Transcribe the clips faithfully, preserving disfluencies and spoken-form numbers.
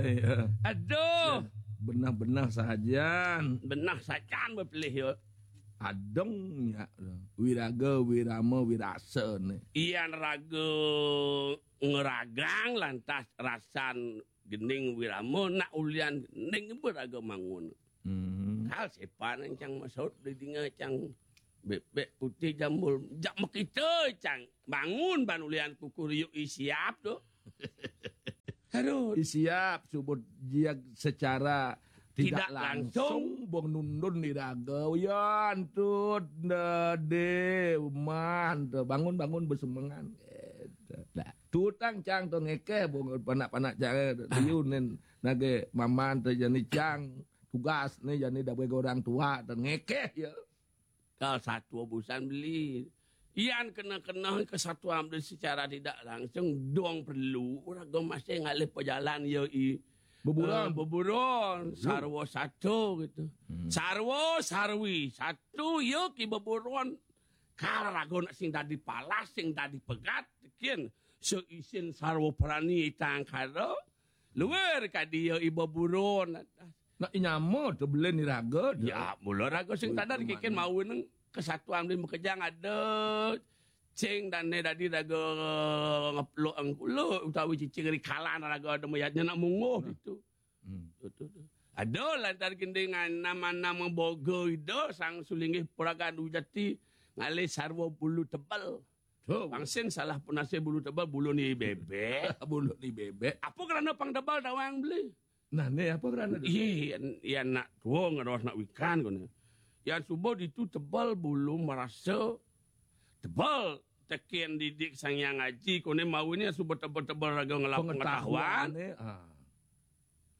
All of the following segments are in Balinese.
Iya. Aduh. Benah-benah sajan. Benah sajan bepilih, yo. Adong, ya. Wiraga, wirama, wirasa nih. Ian raga ngeragang lantas rasan gending wirama nak ulian gending beraga mangun. Hmm. Hal sepan yang cang maksud di dinga cang bebek putih jambul. Jak makita cang bangun ban ulian kuku riuk i siap tu. Aduh. I siap subut jiag secara tidak Tidak langsung. Langsung bong nundun di raga. Uyan tut dade uman tu bangun-bangun bersemengan. Gitu. Dah. Tutang cang tu ngekeh bong panak-panak cang liu nen nage maman tu jani cang tugas ni jani dawe orang tua tu ngekeh ya. Kal satu busan beli. Ian kena-kena kesatuan beli secara tidak langsung dong perlu raga masih ngalih pejalan ya i Beburon. Eh, beburon, sarwa satu gitu. Hmm. Sarwa sarwi satu ya ki beburon. Kal raga nak sing dadi palas, sing dadi pegat, kin seisin sarwa prani itang kada. Luar kadi ya i beburon. Nak inyama tu belen ni raga tu. Ya, mula raga sing Ui, tadar kikin mawi neng kesatuan di makejang ada. Cing dan ne dadi raga ngeplok engkulo utawi cicing ri kalan raga ada mayatnya nak munguh gitu. Hmm. Tu, tu, tu. Ada lantar gending nama-nama boga ida sang sulinggih puragan ujati ngalih sarwa bulu tebal. Tu. Pangsin salah punase bulu tebal, bulu ni bebek. Bulu ni bebek. Apa kerana pang tebal dawang beli? Nah, ni apa kerana tu? Iya, iya nak tua ngeros nak wikan kone. Yang subuh ditu tebal bulu merasa tebal tekin didik Sang Yang Aji kone mau ni subuh tebal-tebal raga ngelap pengetahuan. Pengetahuan, eh, ah.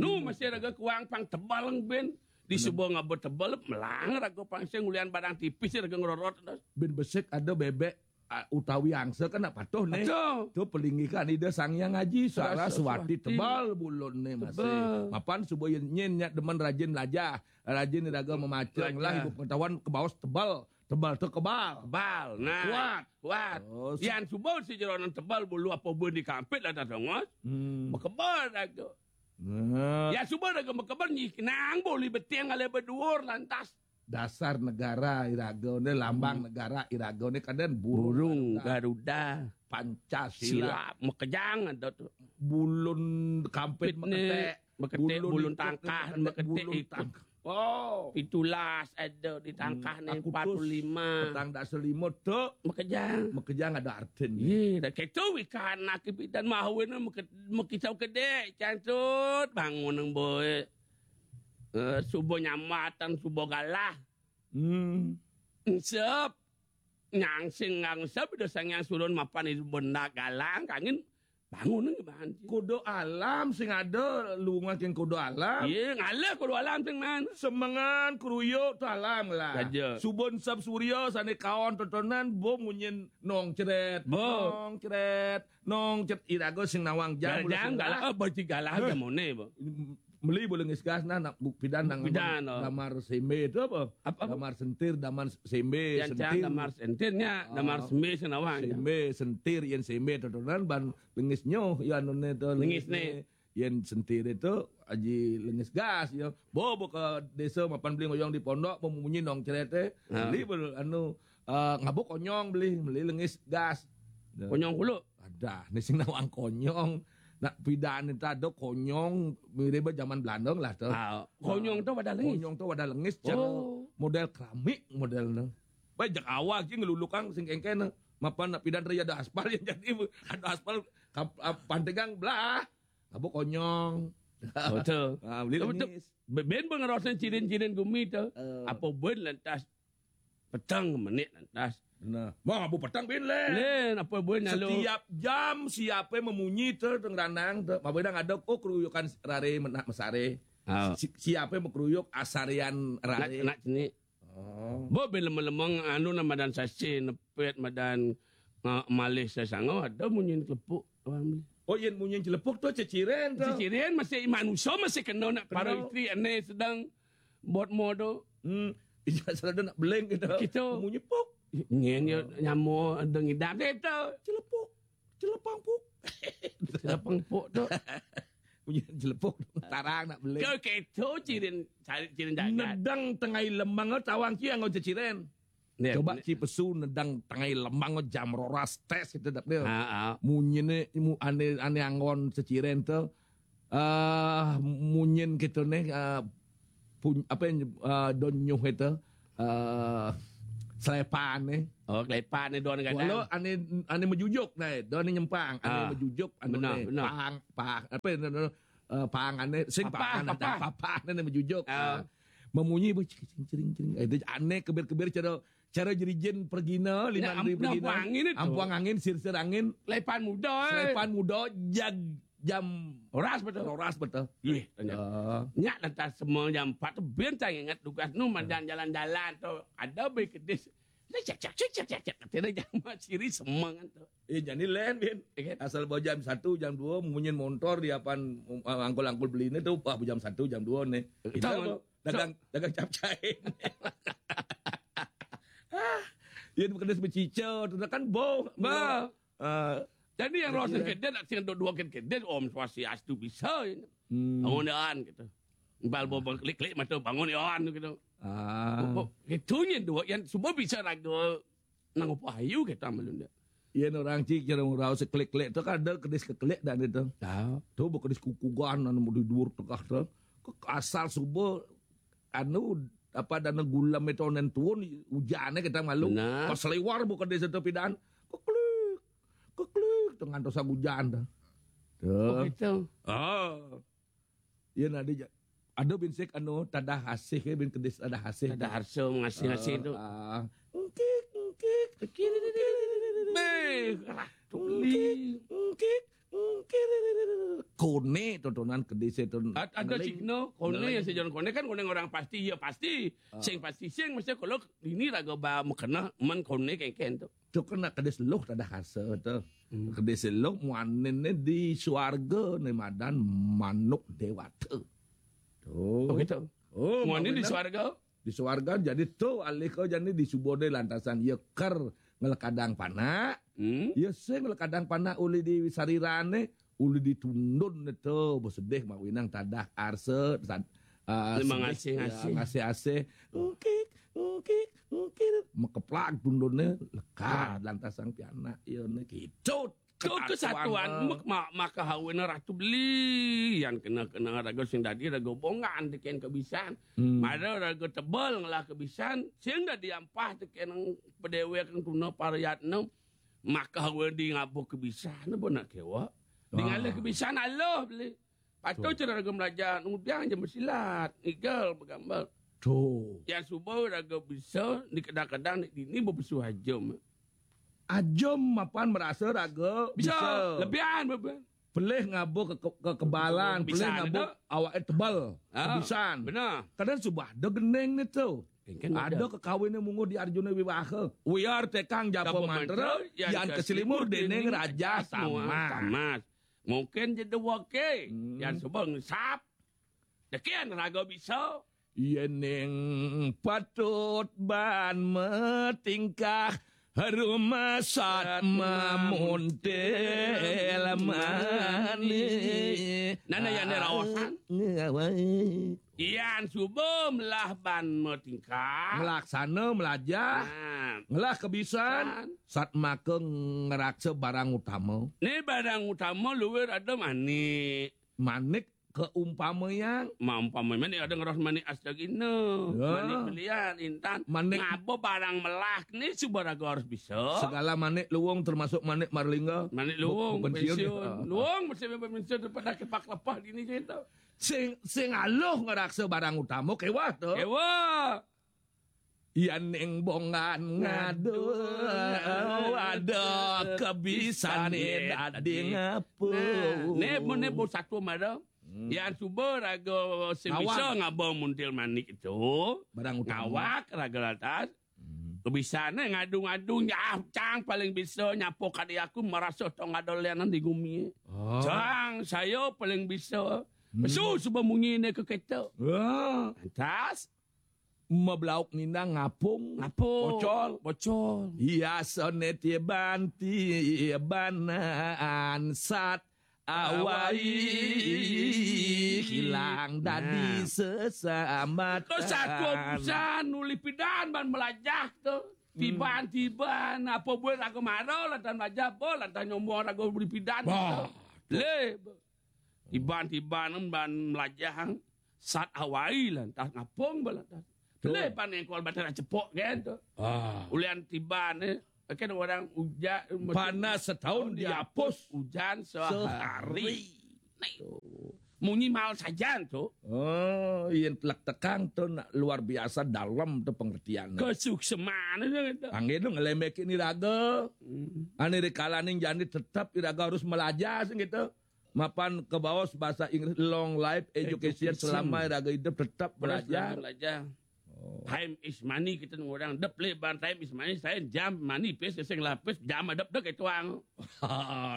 Nu masih raga kuang pang tebal ben. Di subuh ngaba tebal melang raga pang sing ulian barang tipis raga ngerorot. Ben besik ada bebek ah, utawi angsa kan nak patuh ni. Patuh. Tu pelinggihan Ida Sang Yang Aji Saraswati. Saraswati tebal bulun ni masih. Tebal. Mapan subuh yen nyen nyak demen rajin lajah, rajin raga memacang lah ibu pengetahuan kebaos tebal. Tebal tu kebal. Kebal. Nah. Kuat. Kuat. Oh, si- Yang subuh si jeronan tebal bulu apa pun dikampit lah tak tongos. Hmm. Bekebal raga. Nah. Ya subuh raga bekebal nyi nang boleh beting ale beduur lantas. Dasar negara iraga ni, lambang negara iraga ni kadang burung. Burung Garuda. Pancasila. Sila makejang ada tu. Bulun kampit maketek. Maketek bulun tangkah, maketek bulun tangkah. Oh. Pitulas ada di tangkah ni empat puluh lima. Petang dak selima tu. Makejang. Makejang ada artin. Ye, dah ketu ikan nak pidan mahawin makisau kedek cantut bangun nang boy. Eh, subuh nyamatan, subuh galah. Hmm. Ensep. Nyangsing ngangsep ida Sang Yang Surun mapan ida bendak galang kangin bangun nang bahan. Kuda alam sing ada lungan king kuda alam. Iya, ngalih kuda alam sing man. Semengan keruyuk tu alam lah. Raja. Subun sab surya sane kaon totonan bo munyin nong ceret. Bo. Nong ceret. Nong cet iraga sing nawang jam. Jam galah, oh, beci galah jamone, bo. Meli boleh ngisgas nah nak buk pidan nang pidan, oh. Damar sembe tu apa? Apa, apa? Damar sentir, damar sembe, yang sentir. Damar sentir nya, damar sembe sing nawang. Sembe, sentir, yen sembe tu tunan ban lengis nyoh ya none tu lengis ni. Yen sentir itu aji lengis gas ya. Bo bo ke desa mapan beli ngoyong di pondok pemunyi nong cerete. Ha. Beli anu eh, ngabuk konyong beli, beli lengis gas. Konyong kulo. Ada, ni sing nawang konyong. Nak pidan ni tak ada konyong mirip zaman Belanda lah tu. Ah, konyong tu wadah lengis. Konyong tu wadah lengis, cara model keramik model tu. Baik jak awal je ngelulukang sing kengken. Mapan nak pidan raya ada aspal yang jadi ada aspal pantegang belah. Apa konyong? Betul. Ah, beli lengis. Ben pengerosnya cirin-cirin gumi tu. Apa ben lantas petang menit lantas. Nah, mau abu petang bin le. Len apa buin lalu. Setiap jam siapa memunyi tu tengranang tu. Apa dah ada oh keruyukan rare menak mesare. Oh. Si, siapa yang berkeruyuk asarian rare. Nak, nak sini. Oh. Bo bila melemong anu nama dan sasi nepet madan uh, malih sesangau ada munyi kelepuk orang beli. Oh, yang munyi kelepuk tu ceciren tu. Ceciren masih manusia masih kena nak para isteri ane sedang buat modo. Hmm. Iya, selalu nak beling gitu. Gitu. Munyi puk. Nyen ya nyamo dengidam deh tu. Celepuk. Celepang puk. Celepang puk tu. Jelepuk, tarang nak beli. Kau keto cirin, cirin jagat. Nedang tengah lemang tawang ci anggon ceciren. Coba ci pesu nedang tengah lemang jam roras tes itu dap dia. Ha, ha. Munyi ne, mu, ane, ane anggon ceciren tu. Ah, munyin gitu ne, ah, pun, apa yang, ah, don nyuh itu, ah, selepan ne. Oh, selepan ne don kadang. Walau ane, ane mejujuk dai, don nyempang, ane mejujuk, anu benar, ne, benar. Pang, pang, apa yang, eh, pang ane, sing papah, pang ane, papah. Papah ane mejujuk. Ah. Ah. Memunyi, bu, cering, cering, cering. Eh, itu ane kebir-kebir cara, cara jerijin pergina, lima ribu pergina. Ampuang angin itu. Ampuang angin, sir-sir angin. Selepan muda, eh. Selepan muda, jag, jam roras betul. Roras betul. Ih, tanya. Ah. Nyak lantas semua jam empat tu, bentang ingat tugas nu, madan jalan-jalan tu. Ada be kedis. Cek, cek, cek, cek, cek, cek. Kata dia jam siri semangat tu. Eh, jadi lain, Bin. Iya, kan? Asal bawa jam satu, jam dua, munyin motor di apan, um, angkul-angkul beli ni tu, wah, jam satu, jam dua ni. Betul. Kita dagang, dagang capcai. Ah, ya, kedis becica, tu kan bau. Bah. Ah, jadi yang rosak kedis, nak sing dua-dua kedis, Om Swastiastu bisa. Hmm. Bangun, Yan, gitu. Bal bawa klik-klik mata, bangun, Yan, gitu. Ah. Bo-, bo-, itunya dua, yang semua bisa raga nang apa ayu kita malu ndak. Iya, orang cik, cara orang seklik-klik tu kan ada kedis keklik dan itu. Tahu. Tu bukan kedis kukugan, anu mau di dua tengah tu. Ke asal subuh, anu, apa, dana gulam itu onen tuun, hujannya kita malu. Nah. Pas lewar bukan kedis itu pidan. Keklik, keklik, tengah dosa hujan tu. Tu. Oh, gitu. Ah. Iya, nadi ja-, ada bin sik anu, tadah asih, ya, bin kedis tadah asih. Tadah harsa mengasih-asih tu. Ah. Engkik, engkik, engkik. Beh, ratu beli. Engkik, engkik, engkik. Kone tontonan kedis itu. Ad-, ada cik no, kone yang sejalan kone kan kone orang pasti, ya pasti. Ah. Sing pasti, sing mesti kalau ini raga ba mekena, men kone kengken tu. Tu kena kedis luh tadah harsa tu. Hmm. Kedis luh muanin ni di suarga ni madan manuk dewata. Tu. Oh, gitu. Oh, muanin di suarga? Di suarga, jadi tu alih kau jadi di subuh ni lantasan ia ker ngelekadang panak. Hmm. Ia sing ngelekadang panak ulih di sariran ni, ulih ditundun ni tu, bersedih mak winang tadah harsa, sad-, ah, sedih, ngasih-ngasih. Ya, ngasih-ngasih. Engkik, engkik, engkik. Mekeplak tundun ni, lekad lantasan pianak. Ia ni kicut. Tu kesatuan, mak-, mak-, maka hawina ratu beli. Yang kena-kena raga sing dadi, raga bongan deken kebisan. Hmm. Mara raga tebal ngelah kebisan, sing dadi ampah deken pedewek tuna parayatna. Maka hawina di ngabuh kebisan, apa nak kewa? Di ngalih kebisan, aluh beli. Patut cara raga melajar, ngudiang je mesilat, ngigel, begambar. Tu. Yang suba raga bisa, di kadang-kadang ni, ni bepesu ajum. Ajum mapan merasa raga bisa. Bisa. Lebihan, lebihan. Pelih ngabuh ke, ke, kekebalan, pelih ngabuh awak tebal. Ah, kebisan. Benar. Kadang suba ada geneng ni tu. Kan ada. Ada kekawin ni munguh di Arjuna Wiwaha. Wiar tekang japa mantra, yang keselimur dening Raja Samas. Mungkin je dua ke. Hmm. Yang suba ngesap. Dekin raga bisa. Yening patut ban metingkah, rumasat mamuntil manih. Nana yang ni raosan. Ngawai. Yan suba melah ban metingkah. Ngelaksana melajah. Nah. Ngelah kebisan. Sat maka ngeraksa barang utama. Ni barang utama luwih ada manik. Manik keumpamayang. Maumpama manik ada ngeros manik astagina. Ya. Manik belian intan. Manik. Ngaba barang melah ni suba raga harus bisa. Segala manik luwung termasuk manik marlingga. Manik luwung, pensiun. Luwung mesti pensiun daripada kepak lepah dini cerita. Sing, sing aluh ngeraksa barang utama kewah tu. Kewah. Yan ning bongan ngadu, ada kebisan ni dadi ngapa. Nah, ni, ni bos satu mara. Hmm. Yan suba raga sing bisa ngaba muntil manik itu. Barang utama. Ngawak raga latas. Hmm. Kebisan ni ngadu-ngadu nyah cang paling bisa nyapo kadi aku merasa tong ada lianan di gumi. Oh. Cang saya paling bisa. Hmm. Pesu suba munyi ni ke kita. Wah. Lantas. Meblauk nindang ngapung. Ngapung. Bocol. Bocol. Hiasane tiban tiban ansat Awai hilang dadi Nah. Sesamatan. Terus aku urusan nuli pidan ban melajah tu. Tiban-tiban apa buat aku marah lantaran melajah apa lantaran nyombong aku beli pidan. Bah. Le. Tiban-tiban ban melajah sat awai lantas ngapung ba lantas. Tu. Le pan engkol batang cepok kan tu. Ah. Ulian tiban eh. Kan orang ujan Panas setahun dihapus. Hujan sehari. Sehari. Nah, munyi mal sajan tu. Oh, yang telak tekang tu nak luar biasa dalam tu pengertian. Kesukseman tu. Panggil tu ngelembek ini raga. Hmm. Ane rikalaning jani tetap iraga harus melajah sing gitu. Mapan ke bawah bahasa Inggris long life education. Education. Selama iraga hidup tetap belajar. Belajar. Oh. Time is money kita orang dep le ban time is money, saya jam money pes sing lapis jam adep dek itu ang.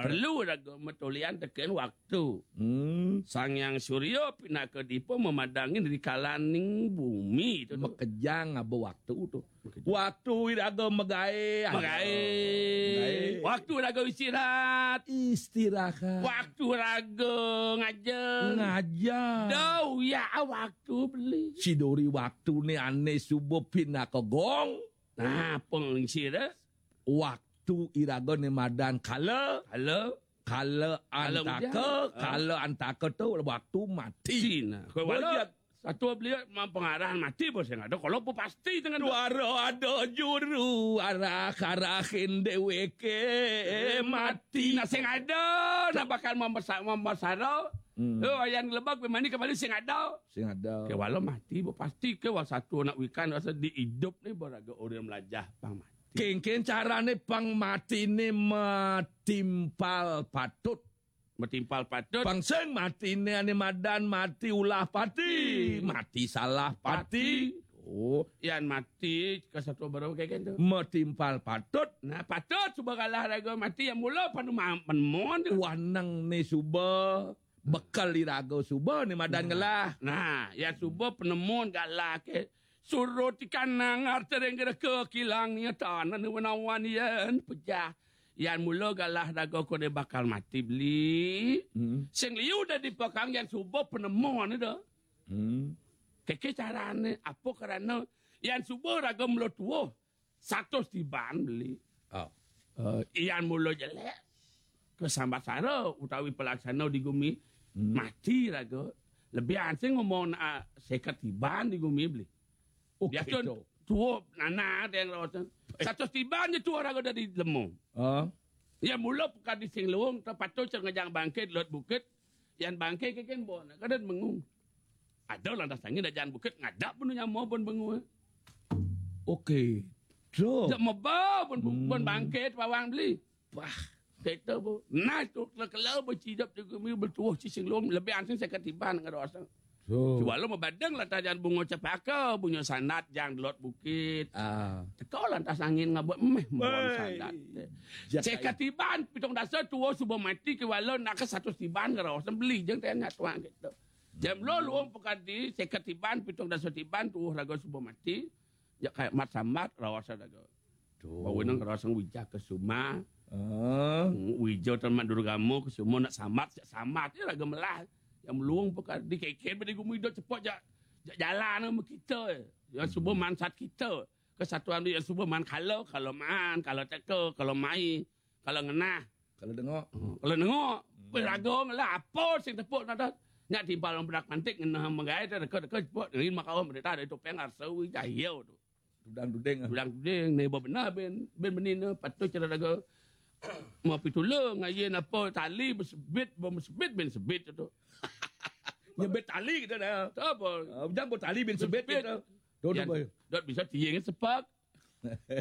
Perlu raga metulian teken waktu. Hmm. Sang Yang Surya pinaka dipa memadangin rikalaning bumi tu. Makejang aba waktu tu. Makejang. Waktu iraga magae. Magae. Magae. Waktu iraga istirahat. Istirahat. Waktu raga ngaja. Ngaja. Dau ya waktu beli. Sidori waktu ni ane suba pinaka gong. Nah, pengisi dah. Waktu iraga ni madan kala. Kala. Kala antaka, kala antaka tu waktu mati. Cina. Kau walau satu beli mempengarah mati bos yang ada. Kalau pun pasti dengan duara ada juru arah arahin deweke mati. Nah, sing ada nak bakal membesar membesar. Hmm. Oh, yang lebak mandi kembali sing ada. Sing ada. Ke walau mati bos pasti ke wal satu anak wikan rasa di hidup ni beraga orang melajah pang mati. Kengken carane pang mati ni matimpal patut. Matimpal patut. Pang sing mati ni ane madan mati ulah pati. Mati salah pati. Oh, yan mati ke satu baru kayak gitu. Matimpal patut. Nah, patut suba kalah raga mati yang mula panu ma- penemuan tu. Wanang ni suba bekal iraga suba ni madan ngelah. Nah, ya suba penemuan galah ke. Surut ikan nangar tering gereka kilang ni tanah ni wenawan yan pejah. Yan mula galah raga ko dia bakal mati beli. Hmm. Sing liu dah dipekang yan suba penemuan ni dah. Hmm. Keke carane apa kerana yan suba raga mula tuah. Satus tiban beli. Oh. Uh, yan mula jelek. Kesambat sara utawi pelaksana di gumi. Hmm. Mati raga. Lebih ansing ngomong nak seket tiban di gumi beli. Okey. Biasa tu. Tuup nana ada yang rawatan. Satus tiban je tuup raga dari lemu. Ah. Ya mula pekadi sing luung, terpatut ngejang bangkit lot bukit. Yan bangkit ke kan bo nak kada mengung. Ada lantas angin dah jalan bukit ngadap pun nyama pun bengu. Okey. True. Dak meba pun hmm. Pun bangkit pawang beli. Wah, kita bu. Nah tu kela-kela bercidap juga mi bertuah cicing lom lebih ansing saya ketiban dengan rasa. So. Cuma lo mabadang lah tajan bunga cepaka, bunga sandat jang delot bukit. Ah. Teka lantas angin ngabut meh mohon sandat. Saya ketiban pitung dasa tua suba mati ke wala nak ke satu tiban ke rawasan beli jeng tanya tuan gitu. Jam lo luang pekadi saya ketiban pitung dasa tiban tuah raga suba mati. Ya kayak mat sambat rawasan raga. Bawa nang rawasan wija ke suma. Ah. Wija tan mat durgama ke suma nak sambat, sambat ya raga melah. Yang meluang pekadi kekeh bedi gumi dot cepat jak jak jalan sama kita. Yang suba mansat kita. Kesatuan dia yang suba man kalau kalau man kalau teka kalau mai kalau ngenah. Kalau dengok. Hmm. Kalau dengok, hmm. Peraga lah apa sing tepuk nada. Nyak timpal orang berak pantik ngenah menggai dah deka-deka tepuk ngin makau mereka ada topeng arsa wi jaya tu. Dudang duding. Dudang duding ni benar ben ben benina patut cara daga. Mau pitula ngayin apa tali bersebit bersebit ben sebit tu. Nyebit tali kita dah. Tak apa. Uh, jangan buat tali ben sebit kita. Tu tu boy. Dot bisa tiang sepak.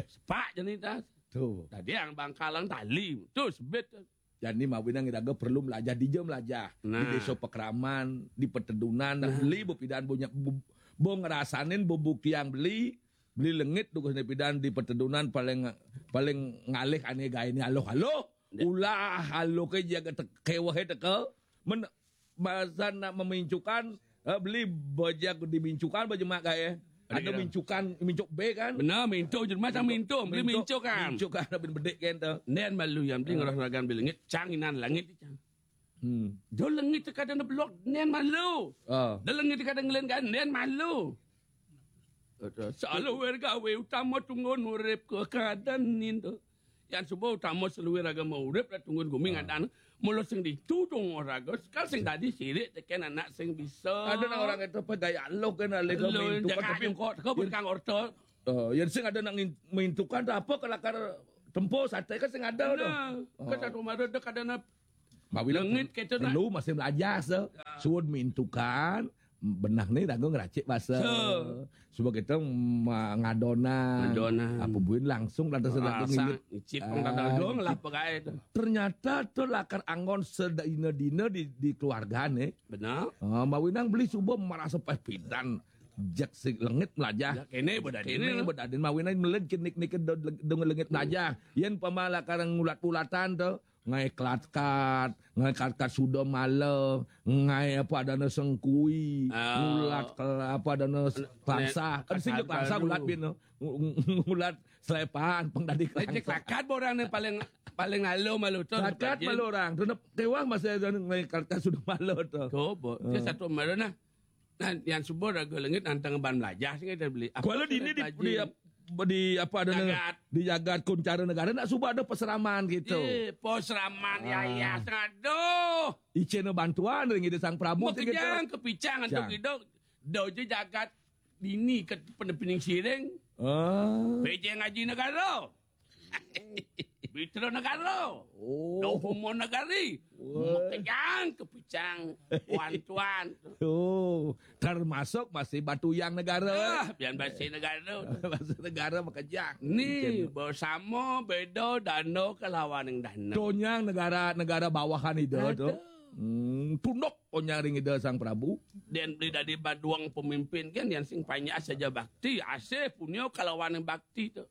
Sepak je ni tas. Tu. Tadi yang bangkalang tali. Tu sebit. Jadi mawinang iraga perlu melajah dija melajah. Nah. Di desa Pekraman, di Petedunan, nah. Beli bepidan punya bu- bo ngerasanin bebukti yang beli, beli lengit tu kesini pidan di Petedunan paling paling ngalih ane gae ni aloh-aloh. Ya. Ulah aloh ke jaga te- kewah teka. Men- Masa nak memincukan, eh, beli bajak dimincukan bajemak kai. Ada mincukan, mincuk B kan? Benar, mintu je masa mintu, beli mincukan. Mincukan ada bin bedik kan tu. Nen malu yang beli ngerah ragan beli langit, cang inan langit cang. Hmm. Do lengit kada na belok, nian malu. Ah. Do lengit kada ngelen kan, nian malu. Saluir gawe utama tunggu nurip ke keadaan ninto. Yang suba utama saluir agama urip lah tunggu gumi ngadan. Mula sing ditudung oraga, sekal sing dadi sirik teken anak sing bisa. Ada nang orang itu apa gaya lo kan, alih lo mintukan, tapi kok kau bukan orta. Oh, yang sing ada nang mintukan apa kelakar tempo sate kan sing ada tu. Nah, ke satu mara dek ada na Mawinan lengit kita nak. Perlu masih belajar se. Ya. Suud mintukan, benah ni ragu ngeracik bahasa. Se. Sebab kita ma-, ngadonan. Ngadonan. Apa buin langsung dah tersedang. Ah, ngicip orang dah dong lah pegai tu. Ternyata tu lakar anggon sedina-dina di, di keluarga ni. Benar. Ah, Mbak Winang beli subuh merasa pepidan. Jak si lengit melajah. Ya, kene bedadin. Kene bedadin. Mbak Winang meled kenik-nik dong lengit melajah. Yen pama lakar ngulat-ulatan tu. Ngai kelatkat, ngai kelatkat suda mala, ngai apa adana sengkui, ah, ngulat ke-, apa adana s-, pangsa. Kan sing pangsa ngulat bin tu. Ngu-, ngu-, ngulat selepan, pang dadi kelatkat. Kelatkat orang ni paling, paling lalu malu tu. Kelatkat malu orang. Tu nak tewang masa adana ngai kelatkat suda mala tu. Tu, bo. Dia satu mala nah. Nah, yang subuh raga lengit nantang ban melajah sing kita beli. Apa kalau tu dini di, di, di apa ada jagat, di jagat kuncara negara nak subuh ada peseraman gitu. Eh, peseraman ya, ya, aduh. Icena bantuan ring Ida Sang Prabu gitu. Makejang kepicang antuk hidup. Do je jagat dini ke pening siring. Ah. Pejeng ngaji negara. Bitra Negara. Oh. Dohumo Negari. Wah. Mekejang kepicang. Wan tuan. Oh, termasuk masih Batuyang Negara. Ah, pian basi negara. Basi negara mekejang. Ni bersama beda dana kelawan yang dana. Tonyang negara, negara bawahan ida tu. Ada. Hmm, tunduk tonyang ring ida Sang Prabu. Dan beli dadi baduang pemimpin kan yang sing panjak saja bakti, asih punya kelawan yang bakti tu.